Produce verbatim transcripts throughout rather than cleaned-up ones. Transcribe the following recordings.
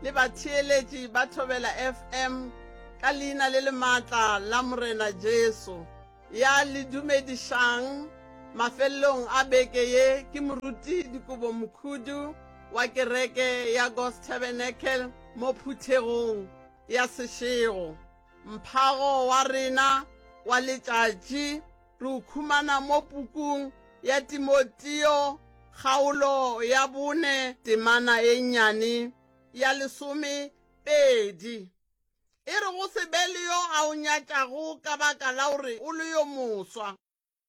le batheeletši ba Thobela F M ka leina le le maatla la Morena Jesu. Ya le dumedišang mafelelong a beke ye ke Moruti Dikobo Mokhudu wa kereke ya God's Tabernacle mo phuthegong ya Seshego. Mphago wa rena wa letšatši re o khumana mo pukung ya Timoteo, kgaolo ya bone, temana e nnyane ya lesome pedi. E re go se be le yo a o nyatšago ka baka la gore o le yo moswa,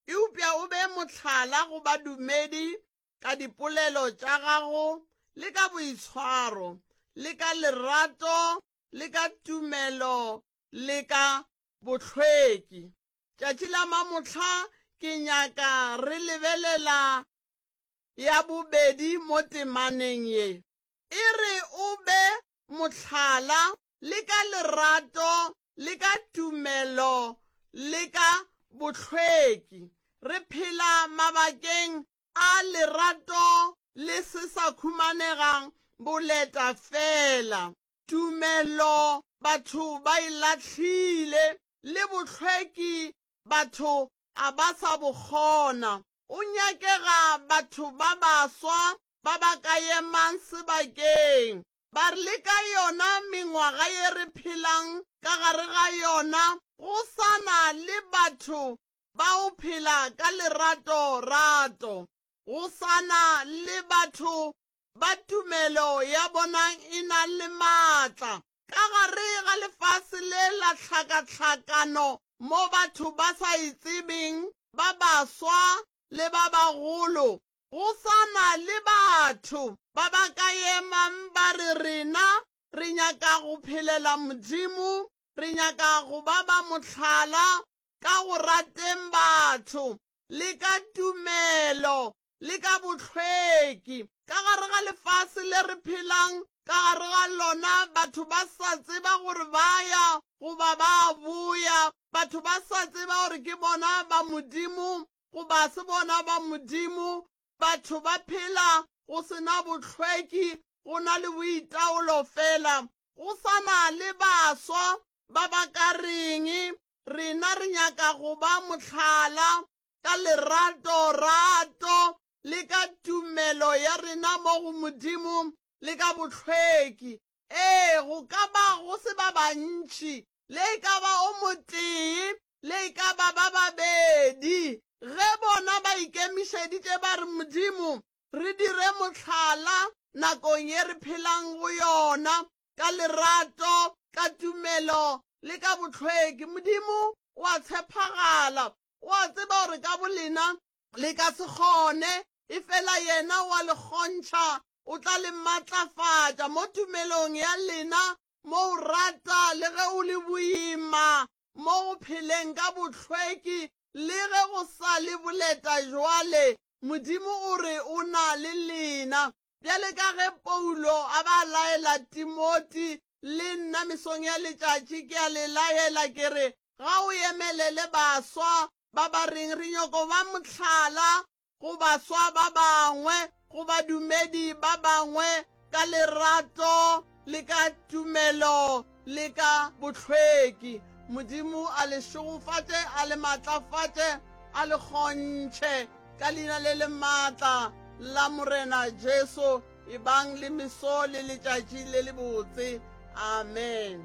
eupša o be mohlala go badumedi ka dipolelo tša gago le ka boitshwaro le ka lerato le ka tumelo le ka bohlweki. Tšatši la mamohla ke nyaka re lebelela ya bobedi mo temaneng ye. E re o be mohlala le ka lerato le ka tumelo le ka bohlweki. Re phela mabakeng a lerato le se sa khumanegang boleta fela. Tumelo batho ba e lahlile, le bohlweki batho a ba sa bo kgona. O nyakega batho ba baswa ba ba ka emang sebakeng ba re le ka yona mengwaga ye re phelang ka gare ga yona, go sana le batho ba o phela ka lerato rato, go sana le batho ba tumelo ya bona e na le maatla. Ka gare ga lefase le la hlakahlakano mo batho ba sa e tsebeng, ba baswa le ba bagolo, go sana le batho ba ba ka emang ba re rena re nyaka go phelela Modimo, re nyaka go ba ba mohlala ka go rateng batho le ka tumelo le ka bohlweki. Ka gare ga lefase le re phelang ka gare ga lona, batho ba sa tseba gore ba ya goba ba boya, batho ba sa tseba gore ke bona ba Modimo goba se bona ba Modimo. Batho ba phela go sena bohlweki, go na le boitaolo fela. Go sana le baswa ba ba ka reng rena re nyaka go ba mohlala ka lerato rato le ka tumelo ya rena mo go Modimo le ka bohlweki. Ee, go ka ba go se ba bantši, le e ka ba o motee, le e ka ba ba babedi, ge bona ba ikemišeditše ba re Modimo re dire mohlala nakong ye re phelang go yona ka lerato, ka tumelo le ka bohlweki. Modimo o a tshepagala, o a tseba gore ka bolena le ka se kgone, efela yena o a le kgontšha, o tla le matlafatša mo tumelong ya lena, mo o rata le ge o le boima, mo go pheleng ka bohlweki le ge go sa le boleta jwale. Modimo o re o na le lena. Bjale ka ge Paulo a ba laela Timothy, le nna mesong ya letšatši ke a le laela ke re ga o emelele baswa ba ba reng re nyako ba mohlala go baswa ba bangwe, go badumedi ba bangwe ka lerato le ka tumelo le ka bohlweki. Modimo a le šegofatše, a le matlafatše, a le kgontšhe ka leina le le maatla la Morena Jesu. E bang le meso le letšatši le le botse. Amen.